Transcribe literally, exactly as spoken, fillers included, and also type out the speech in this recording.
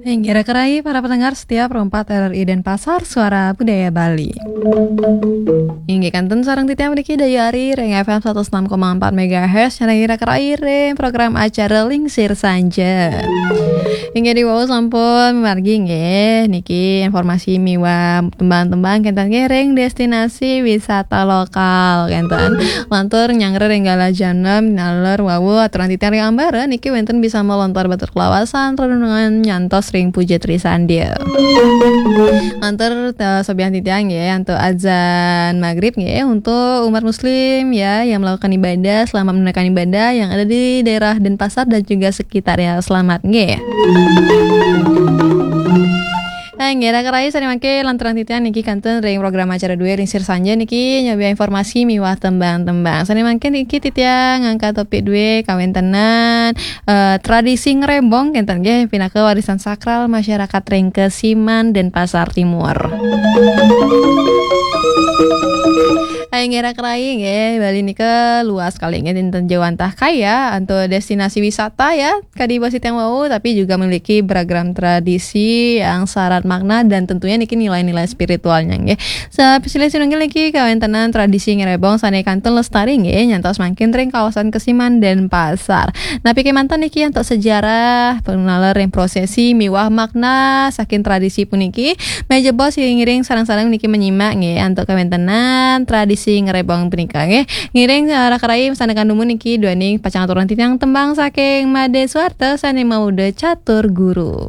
Inggih raka rai para pendengar setia Pro empat R R I Denpasar, Suara Budaya Bali. Inggih kanten sareng titiang mriki dayu ari ring F M satus enam koma empat megahertz, sareng raka rai ring program acara Lingsir Sanja. Inggih, diwau sampun margi nggih niki informasi miwah tembang-tembang kenten nggih ring destinasi wisata lokal kenten. Lantur nyanggra ring galah jam enam, naler wau aturan titiang ring ambara niki wenten bisama lontar batur kelawasan, renungan nyantos ring puja trisandia. Lantur, eh, sobiahang titiang nggih antuk azan maghrib nggih untuk umat muslim ya yang melakukan ibadah, selamat menunaikan ibadah yang ada di daerah Denpasar dan juga sekitarnya. Selamat nggih. Nah, nggih raka rai, sane mangke lanturang titiang niki kantun ring program acara duwe Lingsir Sanja niki nyobiahang informasi miwah tembang-tembang. Sane mangke niki titiang ngangkat topik duwe kawentenan, eh, tradisi ngrebong kenten nggih pinaka warisan sakral masyarakat ring Kesiman Denpasar Timur. Ayo nggih raka rai nggih, Bali nika luas kali nggih, dinten jauh antah kaya antuk destinasi wisata ya, kadi basa titiang wau, tapi juga memiliki beragam tradisi yang syarat makna dan tentunya niki nilai-nilai spiritualnya nggih. Sapisilih sinunggil niki kawentenan tradisi ngrebong sane kantun lestari nggih nyantos mangkin ring kawasan Kesiman Denpasar. Napi kemanten niki antuk sejarah pengenalan ring prosesi miwah makna saking tradisi puniki? Meh jebos ngiring sareng-sareng niki menyimak nggih antuk kawentenan tradisi ngrebong punika nggih. Ngiring, eh, raka rai masandekan dumun niki duaning pacang aturang titiang tembang saking Made Suarta sane mauda catur guru.